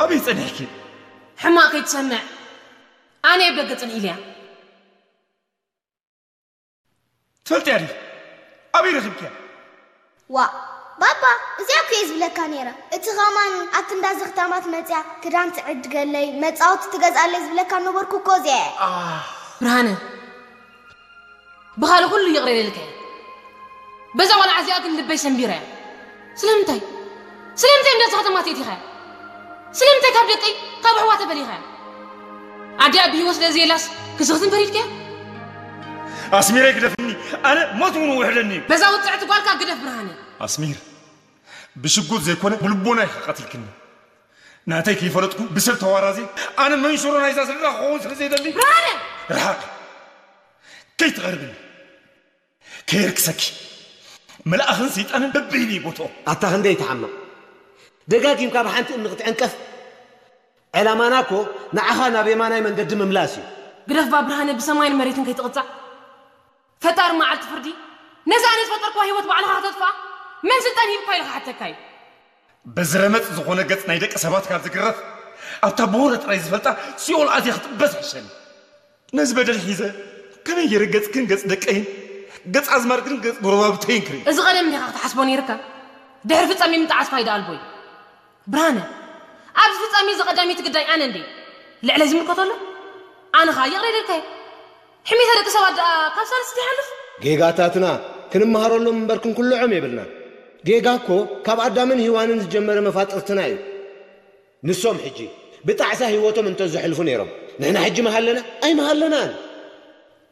ኣበይ ጸኒሕኪ? ሕማቕ ከይትሰምዕ፣ ኣነ ኣብ ደገ ጽንዒ ኢለያ። ትፈልጥያ ድዩ? ኣበይ ረኺብክያ? ዋ፣ ባባ፣ እዚኣ እኮ እየ ዝብለካ ነይረ። እቲ ኸማን ኣብቲ እንዳ ዘኽታማት መጽያ ክዳን ትዕድገለይ፣ መጻወቲ ትገዝኣለይ ዝብለካ ነበርኩ እኮ እዚኣ እየ። ብርሃነ፣ ብኻልእ ኩሉ ይቕረ ኢለልካ እየ። በዛ ቆልዓ እዚኣ ግን ልበይ ሰንቢረ እያ። ስለምንታይ? ስለምንታይ እንዳ ዘኽታማት የእቲኻያ? ስለምንታይ ካብ ደቀይ፣ ካብ ኣሕዋተ ፈሊኻያ? ኣዲኣ ብህይወት ስለ ዘየላስ ክስኽትን ፈሪድካያ? ኣስሚረይ ግደፍኒ፣ ኣነ ሞት እውን ውሕደኒ እዩ። በዛ ውጽዕቲ ጓልካ ግደፍ ብርሃነ። ኣስሚር፣ ብሽጉጥ ዘይኮነ ብልቦና ኢኻ ቀቲልክኒ። ናተይ ከይፈለጥኩ ብሰብ ተዋራዚ፣ ኣነ መንሽሮ ናይዛ ስድራ ክኸውን ስለ ዘይደሊ። ብርሃነ! ርሓቕ! ከይትቐርብኒ! ከየርክሰኪ! መልኣኽን ሰይጣንን በበይኑ ይቦትኦ። ኣታ ክንደይ ትሓምቕ! ደጋጊምካ ብሓንቲ እምኒ ክትዕንቀፍ? ዕላማና እኮ ንዓኻ ናብ የማናይ መንገዲ ምምላስ እዩ። ግደፍ ባ ብርሃነ፣ ብሰማይን መሬትን ከይትቕጻዕ። ፈጣሪ መዓልቲ ፍርዲ ነዛ ኣነ ዝፈጠርክዋ ህይወት ባዕልኻ ከተጥፍኣ መን ስልጣን ሂብካ ኢሉ ክሓተካ እዩ። በዚ ረመጽ ዝኾነ ገጽ ናይ ደቂ ሰባት ካብ ዝግረፍ፣ ኣብታ ብወረ ጥራይ ዝፈልጣ ሲኦል ኣትየ ክጥበስ ይሕሸኒ። ነዚ በደል ሒዘ ከመይ ገይረ ገጽክን ገጽ ደቀይን፣ ገጽ ኣዝማድክን ገጽ ጎረባብተይን ክርኢ? እዚ ቀደም እንዲኻ ክትሓስቦ ነይርካ። ድሕሪ ፍጻሜ ምጥዓስ ፋይዳ ኣልቦ እዩ። ብርሃነ፣ ኣብዚ ፍጻሜ እዚ ቀዳመይቲ ግዳይ ኣነ እንድየ። ልዕለይ ዝምልከቶ ኣሎ? ኣነ ኸኣ ይቕረ ኢለልካዮ። ሕሜታ ደቂ ሰባት ደኣ ካብ ሳልስ ይሓልፍ? ጌጋታትና ክንመሃረሎም እምበር ክንኩልዖም የብልናን። ጌጋ እኮ ካብ ኣዳምን ሄዋንን ዝጀመረ መፋጥርትና እዩ። ንሶም ሕጂ ብጣዕሳ ህይወቶም እንተዘሕልፉ ነይሮም፣ ንሕና ሕጂ ምሃለና? ኣይምሃለናን።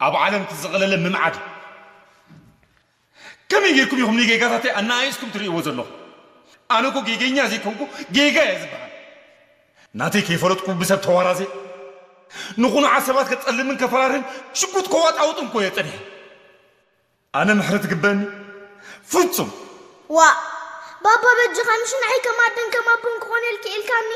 ኣብ ዓለም እቲ ዝቐለለ ምምዓድ እዩ። ከመይ ጌርኩም ኢኹም ንጌጋታተይ ኣነኣኢስኩም ትርእይዎ ዘለኹም? ኣነ እኮ ጌገኛ ዘይኮንኩ ጌጋ እየ ዝበሃል። ናተይ ከይፈለጥኩ ብሰብ ተዋራዘ፣ ንኹኑዓት ሰባት ከጸልምን ከፈራርህን ሽጉጥ ከዋጣውጥን እኮ እየ ጸኒሐ። ኣነ ምሕረት ይግበኒ? ፍጹም! ዋእ! ባባ በጃኻ፣ ምሽ ንዓይ ከም ኣደን ከም ኣቦን ክኾነልኪ ኢልካኒ?